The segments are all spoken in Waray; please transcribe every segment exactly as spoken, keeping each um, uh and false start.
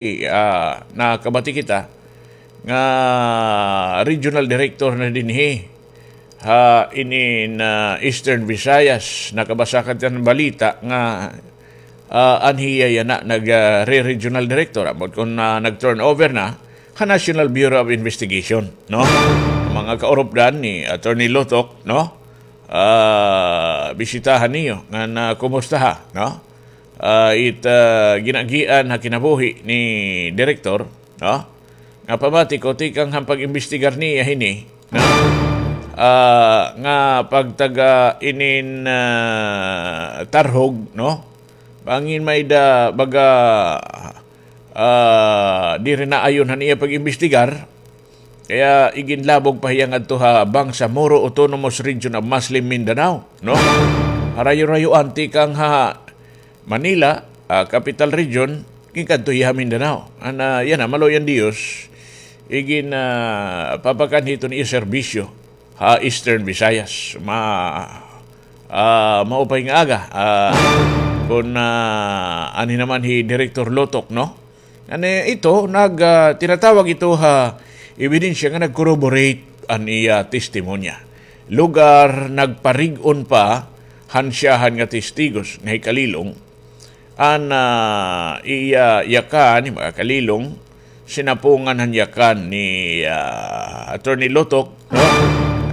ah, nakabati kita nga regional director na dinhi ha inin, ah, Eastern Visayas. Nakabasa ka han balita nga, ah, an hiya yana nag, ah, re-regional director. Ambot kon, ah, nag-turnover na ha National Bureau of Investigation, no? Mga kaurupdan ni Attorney Lotok, no? Ah, bisitahan niyo ngan kumustaha, no? Ah, it, ah, gin-agian ha kinabuhi ni Direktor, no? Nga pamati ko, tikang han pag-imbestigar niya hini, no? Ah, nga pagtaga inin, ah, tarhog, no? Bangin may-ada baga, ah, diri naayon han iya pag-imbestigar, kaya iginlabog pa hiya ngadto ha Bangsamoro Autonomous Region of Muslim Mindanao, no? Harayo-rayoan tikang ha Manila, ah, Capital Region, ginkadto hiya ha Mindanao. An, ah, yana, maluoy an Diyos, igin, ah, papakan hiton iya serbisyo ha Eastern Visayas. Ma-, ah, maupay nga aga, ah, kon, ah, anhi naman hi Direktor Lotok, no? Ngan ito, nag, ah, tinatawag ito ha ebidensya nga nag-corroborate an iya testimonya. Lugar, nagparig-on pa han siyahan nga testigos nga hi Kalilong, an, ah, iya yakan, ni mga Kalilong, sinapungan han yakan ni, ah, Attorney Lotok, no?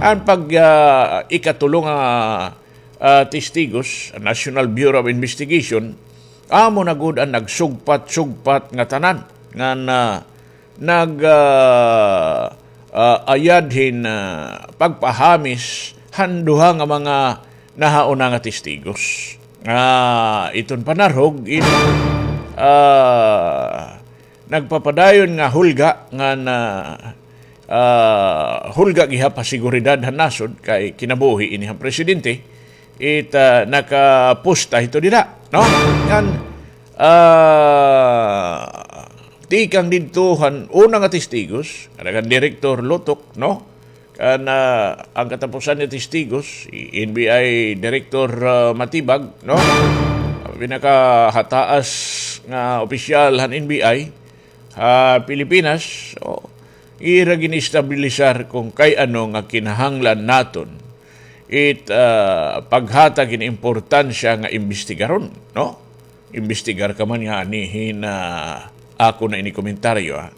An pag, ah, ikatulo nga, ah, testigos, National Bureau of Investigation, amo na gud an nagsugpat-sugpat ngatanan ngan, ah, nag, ah, ah, ayad hin, ah, pagpahamis han duha nga mga nahauna nga testigos. Ah, iton panarhog in, ah, nagpapadayon nga hulga ngan, ah, hulga gihap ha seguridad han nasod kay kinabuhi ini han presidente. It, ah, nakapusta hito dida, no? Ngan, ah, tikang didto han una nga testigos, kan Direktor Lotok, no? Kan, ah, an katapusan nga testigos, si N B I Director, ah, Matibag, no? An pinakahataas nga opisyal han N B I ha Pilipinas, so, ira gin-establisar kon kay ano nga kinahanglan naton it, ah, paghatag hin importansya nga imbestigaron, no? Imbestigar ka man ngani hin, ah, ako na ini komentaryo, ah.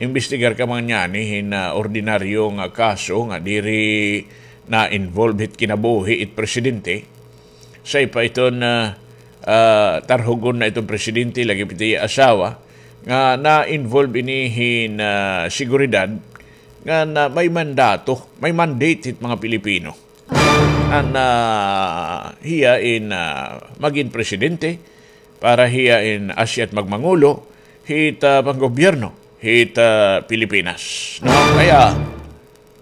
Imbestigar ka man ngani hin, ah, ordinaryo nga kaso nga diri na-involve hit kinabuhi it presidente. Say pa iton, ah, ah, tarhugon na iton presidente, lagi pa it iya asawa, nga na-involve ini hin, ah, seguridad, nga na may mandato, may mandate hit mga Pilipino. An, ah, hiya in, ah, magin presidente, para hiya in asya it magmangulo hit, ah, panggobyerno hit, ah, Pilipinas. No? Kaya,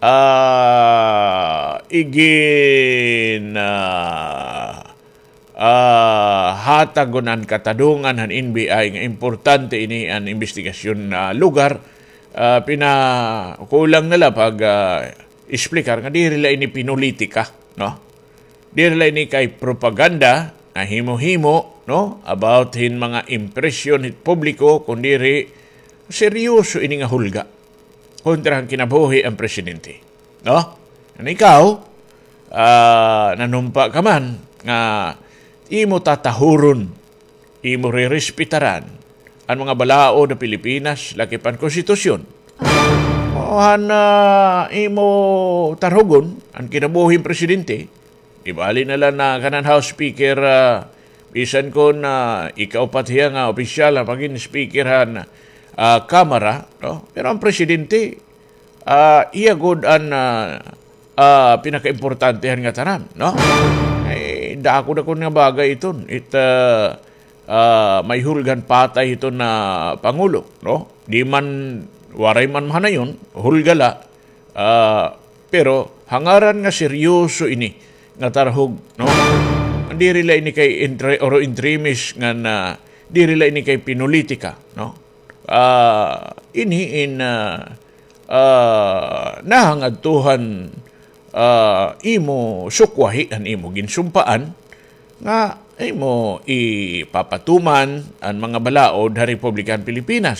ah, igin, ah, ah, hatagon an katadongan han N B I nga importante ini an imbestigasyon nga lugar, ah, pinakulang na la pag, ah, explicar nga diri la ini pinulitika, no? Diri la ini kay propaganda nga himo-himo, no? About hin mga impresyon hit publiko, kundiri seryoso ini nga hulga kontra han kinabuhi han presidente. No? Ngan ikaw, ah, nanumpa ka man nga imo tatahuron, imo rerespetaran an mga balaod han Pilipinas, lakip han konstitusyon. O han, ah, imo tarhugon an kinabuhi han presidente, di bali na la nga kanan House Speaker, ah, bisan kon, ah, ikaupat hiya nga opisyal nga magin speaker han, ah, Kamara, no? Pero an presidente, ah, iya gud an, ah, ah, pinakaimportante han ngatanan, no? Ay, dako-dako nga bagay iton. It, ah, ah, may hulga han patay hiton nga pangulo, no? Di man, waray man mahanayon, hulga la. Ah, pero ha ngaran nga seryoso ini nga tarhog, no? Diri la ini kay entre-, oro entremis ngan diri la ini kay pinulitika, no? Ah, ini in, ah, ah, nahangadto han, ah, imo sukwahi han imo ginsumpaan nga imo ipapatuman an mga balaod ha Republika han Pilipinas.